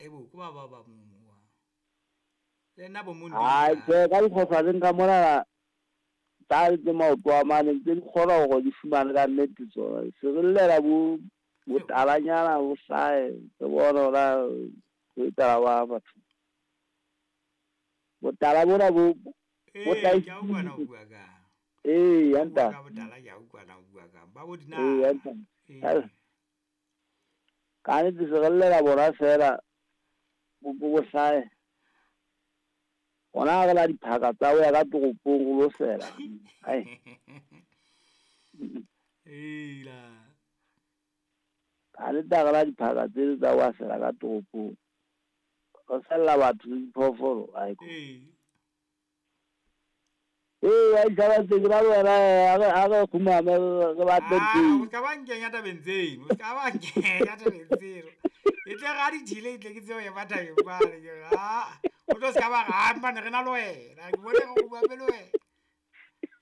Ebo ko ba ba ba mo le nna bo mo Ai tjhe, ka dikgohlaneng ka mona tsa tse maoto a mane tse di kgona hore di fumane ka nnete tsona. Se re llela bo botalanyana bo hlahe re bone hore na ho etsahala wa batho. Botala bona bo bo Ee, tla ke a utlwa na o bua kang. Ee, Ha o bua ya ka botala ke a utlwa na o bua kang. Ba bo Ee, dinala. ya ntate. Ee. Ka nnete se re llela bona fela bo bo hlahe. Hona ha re la diphaka tsa ho ya ka toropong ho lo sela. Ai. Eila. Ka nnete ha re la diphaka tseo tsa ho ya sela ka toropong. Re sella batho le diphoofolo. Ai. Ee. Ee, a ditjhaba tse ke na le wena ha re kgumame re batle Ah, ntho o ska ba nkenya tabeng tseno, o ska ba nkenya tabeng tseno. E tle re ha di thile, e tle ke tsebe ho ema tabeng mane, ke re, ah, o tlo ska ba re, ah, empa ne re na le wena, ke bone re kgumame le wena.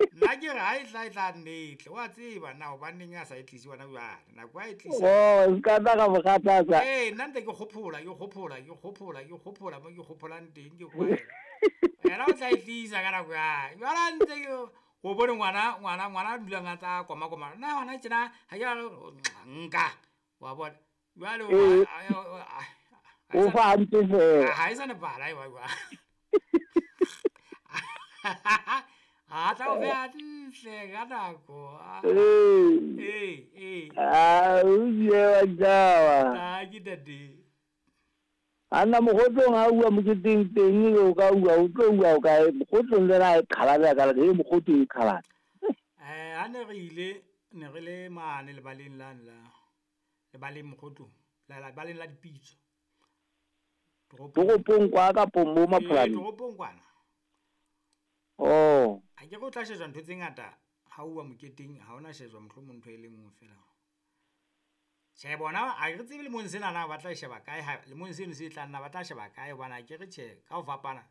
Nna ke re ha e tla e tla nne e tle, wa tseba na hobaneng a sa e tlise hona jwale, nako ha e tlisa. Oh, se ka tla ka mo kgathatsa. Ee, nna ntse ke kgophola, ke kgophola, ke kgophola, ke kgophola mo ke kgopholang teng, ke kwahela. Yena o tla e tlisa ka nako ya hae. Jwale ha ntse ke o bone ngwana, ngwana, ngwana a dulang a tsa koma koma. Nna hona tjena ha ke nka. Wa bona. Jwale o Ee. ha O fa hantle feela. Ha e sa nepahala e ba jwang. Ha tla o fe hantle ka nako. Ee. Ee, ee. Ah, o ile wa ditjhaba. Ah, ke tate. Anna mokgotlong ha uwa moketeng teng o ka uwa o tlo uwa o kae mokgotlong le na e qhalane ka le mokgotlong e qhalane. Ha ne re ile ne re le mane lebaleng lane la lebaleng mokgotlong la lebaleng la dipitso. Toropong kwa kapo mo Mapholaneng? Toropong kwana. Oh. Ha ke re o tla shejwa ntho tse ngata ha uwa moketeng ha ona shejwa mohlomong ntho e le nngwe fela. Tjhe bona ha re tsebe lemong sena na ba tla sheba kae ha lemong seno se tlang na ba tla sheba kae hobane ha ke re tjhe ka ho fapana.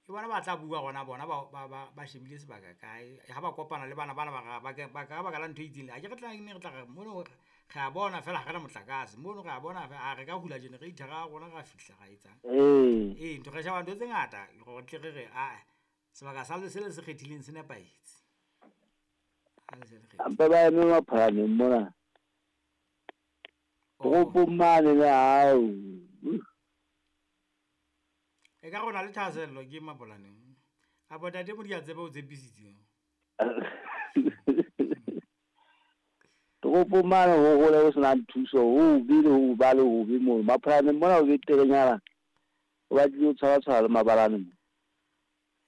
Ke bona ba tla bua hona bona ba shebile sebaka kae ha ba kopana le bana bana ba ba ka baka la ntho e itseng. Ha ke re tla ne re tla re mono re a bona fela ha re na motlakase mono re a bona ha re ka hula generator ra rona ra fihla ra etsang. Ee. Ee, ntho re sheba ntho tse ngata hore tle re re a sebaka sa le se le se kgethileng se nepahetse. Ha le se le kgethile. Hampe ba eme Mapholaneng mona. Toropong mane le hao. E ka rona le thahasello ke Mapolaneng. Kapa tate Modiantsebe o tshepisitse. Toropong mane ho hole ho senang thuso, ho hobe le ho ba le hobe moo. Mapholaneng mona ho beterenyana. O batlile ho tshwara tshwara le mabalane mo.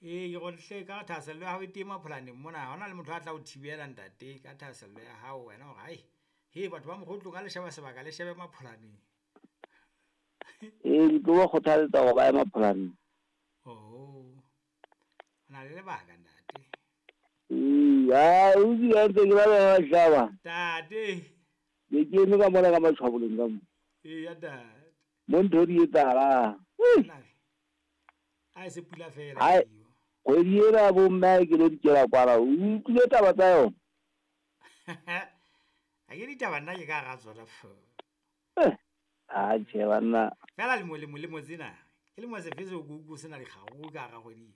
Ee, ke gore hle ka thahasello ya hao e teng Mapholaneng mona. Ha hona le motho a tla o thibela ntate ka thahasello ya hao wena hore hai. He batho ba mokgotlong ha le sheba sebaka le shebe Mapholaneng. Ee, ke tlo ba kgothaletsa hore ba ye Mapholaneng. Oh. O na le lebaka ntate. Ee, ha o di ntse ke ba ba shaba. Ntate. Ke ke eme ka mona ka matshwaboleng ka mo. Ee, ya ntate. Mo ntho di etsahalang. Ha e se pula fela. Hai. Kgwedi ena bo mme ke lo dikela kwala. O utlwile taba tsa yona? Ha ke ditaba nna ke ka hara tsona fo. Ah, tjhe banna. Fela lemo lemo lemo tsena. Ke lemo sefe seo ke utlwe sena dikgaruru ka hara kgwedi.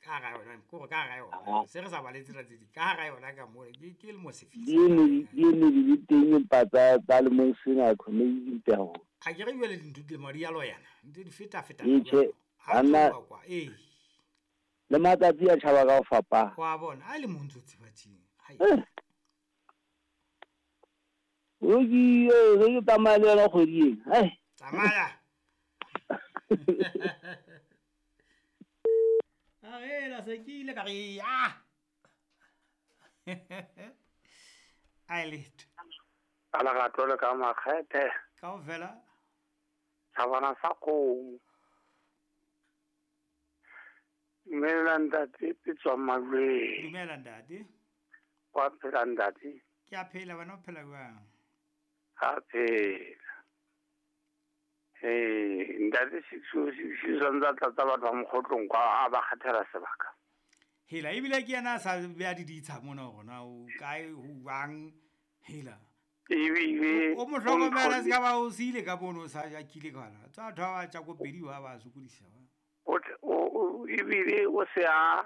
Ka hara yona, ke hore ka hara yona. Se re sa bale tsena tse ding. Ka hara yona ka moo ke lemo sefe. Di eme di le teng empa tsa lemong sena khone di mpe haholo. Ha ke re jwale dintho di lemo di a loyana. Ntse di feta feta. Ee, tjhe, banna. Ee. Le matsatsi a tjhaba ka ho fapana. Wa bona, ha e le mo ntso tseba tje. Hai. O ke re ke tsamaya le yona kgwedi ena. Hai. Tsamaya. A re la se ke ile ka re ah. Ai letho. Ala ga tlole ka makgethe. Kaofela. Thabana sa kgomo. Dumela ntate, ke tswa Malweng. Dumela ntate. Wa phela ntate? Ke a phela, wena o phela jwang? Ha phela. Ee, ntate six santse a tlatsa batho ba mokgotlong kwa a ba kgethela sebaka. Hela ebile ke yena a sa beha di ditsha mona hore na o kae ho jwang. Hela. Ebile O mo hlokomela se ka ba o siile ka mono o sa jakile kana. Tsa batho ba ba tja ko pedi ba ba sokodisa. O ebile o se a